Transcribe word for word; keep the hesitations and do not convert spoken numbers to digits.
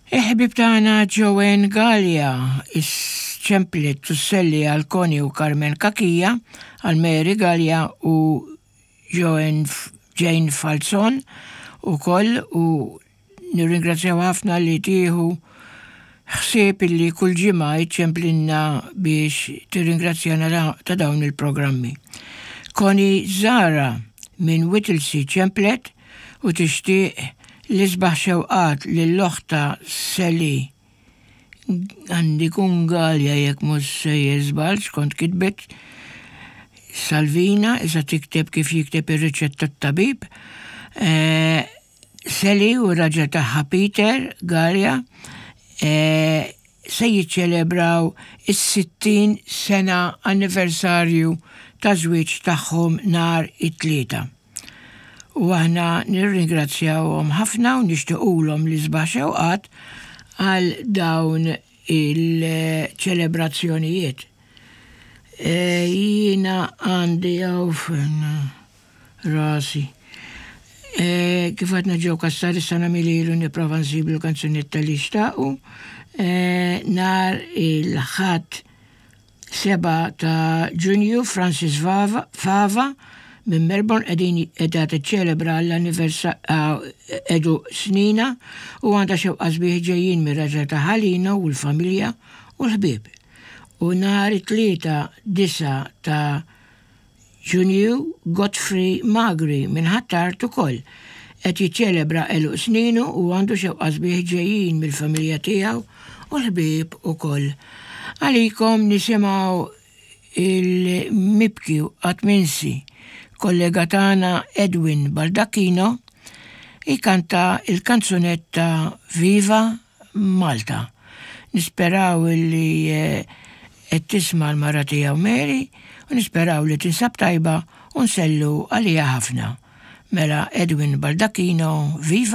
Il-ħbib tagħna Joanne Gallia ċemplet isselli għal Connie u Carmen Cachia, għal Mary Gallia u Joanne Jane Falzon u koll, u nirringrazzjaw ħafna li tieħu ħsieb illi kull ġimgħa iċċemplinna biex tirringrazzjana ta' dawn il-programmi. Connie Zara minn Whittlesea ċemplet u tixtieq l-isbaħ xewqat lil oħtha Sally, għandi kun Gallia jekk mhux sejjer żball, skont kitbet Salvina, issa tikteb kif jikteb ir-riċetta tabib. Eh, Sally u raġel tagħha Peter Gallia eh, se jiċċelebraw is-sittin sena anniversarju ta' żwieġ tagħhom nhar it-Tlieta. U aħna nirringrazzjawhom ħafna u nixtiequlhom l-isbaħ xewqat għal dawn il-ċelebrazzjonijiet. E, jiena għandi għaw rasi. E, kif għadna Joe Cassar, issa nagħmililu, nipprova nsiblu kanzunetta li xtaqu. E, nhar il-Ħadd sebgħa ta' Ġunju, Francis Fava, Fava minn Melbourne qegħdin qiegħda tiċċelebra l-anniversarju snina u għandha xewqa sbieħ ġejjin mir-raġel tagħha Lino u l-familja u l-ħbieb. U nhar it-Tlieta disgħa ta' Ġunju, Godfrey Magri minn Ħ'Attard ukoll qed jiċċelebra għeluq sninu u għandu xewqa sbieħ ġejjin mill-familja tiegħu u l-ħbieb ukoll. Għalikom nisimgħu il-mibki u qatt minsi kollega tagħna Edwin Baldacchino ikanta il-kanzunetta Viva Malta. Nisperaw li qed tisma' l-mara tiegħu Mary u nisperaw li tinsab tajba u nsellu għalija ħafna. Mela, Edwin Baldacchino, Viva.